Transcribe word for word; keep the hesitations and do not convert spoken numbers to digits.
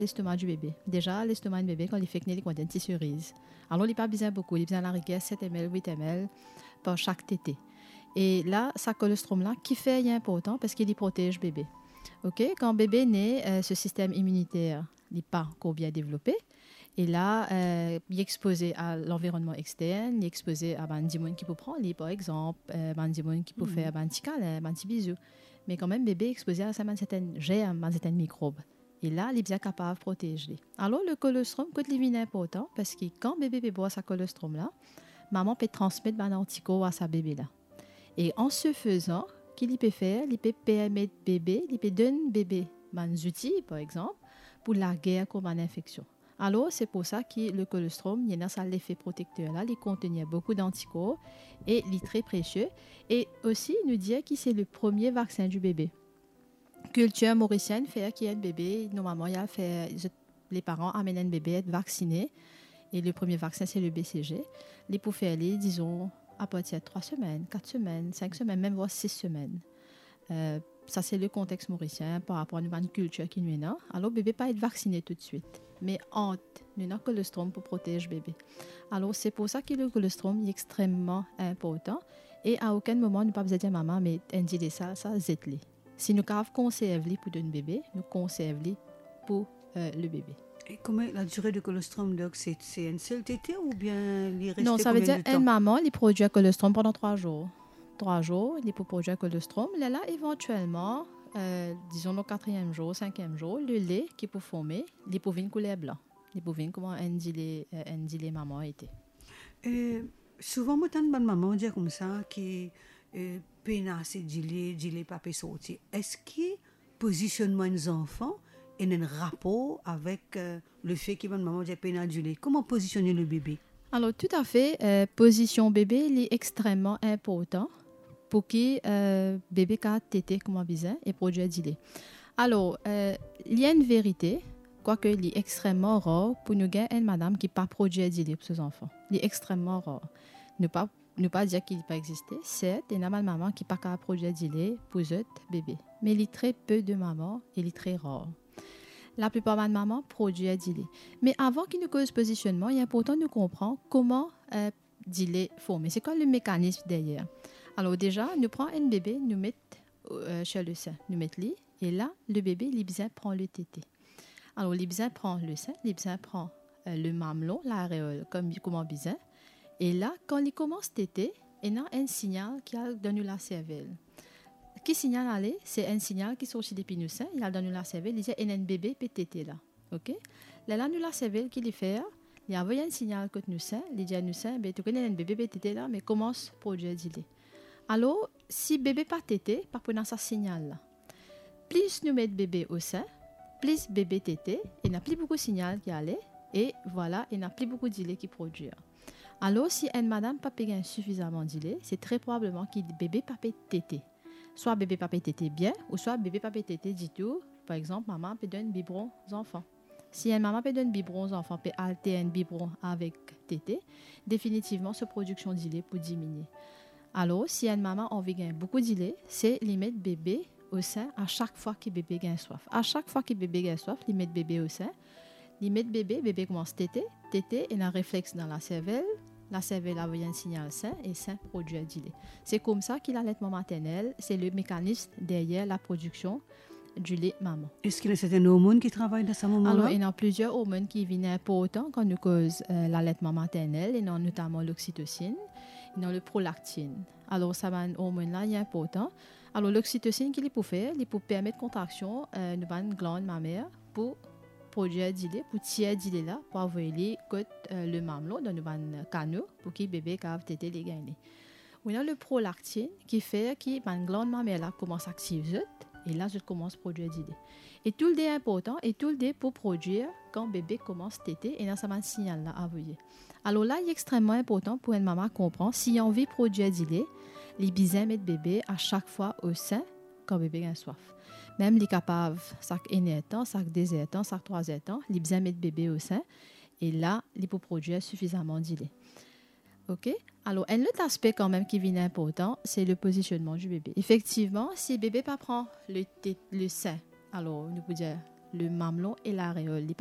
lestoma di bebe. Deza, lestoma enn bebe, kan li fek ne, li kouma enn ti seriz. Alor, li pa bizin boukou, li bizin lariger set M L, wit M L par sak tete. E la, sa kolostrom la, kifer li inportan? Parski li protez bebe. Ok, kan bebe ne, eh, so sistem iminiter, li pa ankor bien devlope. E la, eh, li expoze a lanvironnman extern, li expoze a bann dimoun ki pou pran li, par exanp, eh, bann dimoun ki pou fer bann ti kalin, bann ti bizou. Me kanmem, bebe expoze a sa bann sertenn zerm, bann sertenn mikrob. E la, li bizin kapav protez li. Alor, le kolostrom, kot li vinn inportan? Parski kan bebe pe bwar sa kolostrom la, mama pe transmet bann antikor a sa bebe la. E an se fezan, ki li pe fer? Li pe permet bebe, li pe donn bebe bann zouti, par exanp, pou lager kont bann infeksion. Alor, se pou sa ki le kolostrom, li ena sa lefe protekter la, li kontenir boukou dantikor e li tre presie. E osi, nou dir ki se le premie vaksin di bebe. Kiltir morisien fer ki enn bebe, normalman, li al fer, zot, leparan amenn enn bebe et vaksine. E le premie vaksin, se le B C G. Li pou fer li, dizon, apartir trwa semenn, kat semenn, sink semenn, mem vwar sis semenn. Eh, sa se le kontex morisien par rapor a nou bann kiltir ki nou ena. Alor, bebe pa et vaksine toutswit. Me ant, nou ena kolostrom pou protez bebe. Alor, se pou sa ki le kolostrom, li extreman inportan. E a okenn moman, nou pa bizin dir mama, me enn dile sa, sa, zet li. Si nou kapav konserv li pou donn bebe, nou konserv li pou, eh, le bebe. E kouma la dire de kolostrom, donk, se, se enn sel tete oubien li reste... Non, sa ve dir enn mama, li prodwir kolostrom pandan trwa zour. Trwa zour, li pou prodwir kolostrom. Lerla, evantielman, eh, dizon, le katriem zour, sinkiem zour, lele ki pou forme, li pou vinn kouler blan. Li pou vinn kouma enn dile, eh, enn dile mama ete. Eh, souvan, mo tann bann mama dir koumsa ki, eh, pena ase dile, dile pa pe sorti. Eski pozisionnman enn zanfan ena enn rapor avek, eh, lefe ki bann mama dir pena dile? Kouma pozisionn le bebe? Alor, toutafe, eh, pozision bebe, li extreman inportan pou ki, eh, bebe kapav tete kouma bizin e prodwir dile. Alor, eh, li enn verite, kwake li extreman rar pou nou gagn enn madam ki pa prodwir dile pou so zanfan. Li extreman rar. Nou pa, nou pa dir ki li pa existe. Sert, ena bann mama ki pa kapav prodwir dile pou zot bebe. Me li tre pe de mama e li tre rar. Laplipar bann mama prodwir dile. Me avan ki nou koz pozisionnman, li inportan nou konpran kouma, eh, dile forme. Se kwa le mekanism deryer? Alor deza, nou pran enn bebe, nou met, eh, sir le sen, nou met li, e la, le bebe, li bizin pran le tete. Alor, li bizin pran le sen, li bizin pran, eh, le mamelon, lareol, kom, kouma bizin. E la, kan li koumans tete, ena enn signal ki al dan nou laservel. Ki signal ale? Se enn signal ki sorti depi nou sen, li al dan nou laservel, li dir ena enn bebe pe tete la. Ok? Lerla nou laservel ki li fer, li avoy enn signal kot nou sen, li dir nou sen, be, to kone ena enn bebe pe tete la, me koumans prodwir dile. Alor, si bebe pa tete, pa pou ena sa signal la. Plis nou met bebe o sen, plis bebe tete, ena pli boukou signal ki ale, e vwala, ena pli boukou dile ki prodwir. Alor, si enn madam pa pe gagn sifizaman dile, se tre probableman ki bebe pa pe tete. Swa bebe pa pe tete bien, ouswa bebe pa pe tete ditou. Par exanp, mama pe donn bibron zanfan. Si enn mama pe donn bibron zanfan, pe altern bibron avek tete, definitivman so prodiksion dile pou diminie. Alor, si enn mama anvi gagn boukou dile, se li met bebe o sen a sak fwa ki bebe gagn swaf. A sak fwa ki bebe gagn swaf, li met bebe o sen, li met bebe, bebe koumans tete, tete, ena reflex dan laservel, laservel avoy enn signal sen e sen prodwir dile. Se koumsa ki laletman maternel, se le mekanism deryer laprodiksion dile mama. Eski ena sertenn ormonn ki travay dan sa moman la? Alor, ena plizier ormonn ki vinn inportan kan nou koz, eh, laletman maternel, ena notaman loksitosin, ena le prolaktin. Alor, sa bann ormonn la, li inportan. Alor, loksitosin, ki li pou fer? Li pou permet kontraksion, eh, nou bann glann mamer pou prodwir dile, pou tir dile la, pou avoy li kot, eh, le mamelon, dan nou bann kano, pou ki bebe kapav tete li gagn li. Ou ena le prolaktin ki fer ki bann glann mamer la koumans aktiv zot, e la zot koumans prodwir dile. E toule de inportan, e toule de pou prodwir kan bebe koumans tete, ena sa bann signal la avoye. Alor la, li extreman inportan pou enn mama konpran, si li anvi prodwir dile, li bizin met bebe a sak fwa o sen kan bebe gagn swaf. Mem li kapav sak enn er tan, sak de zer tan, sak trwa zer tan, li bizin met bebe o sen, e la, li pou prodwir sifizaman dile. Ok? Alor, enn lot aspe kanmem ki vinn inportan, se le pozisionnman di bebe. Efektivman, si bebe pa pran le te-, le sen, alor, nou pou dir, le mamelon e lareol. Li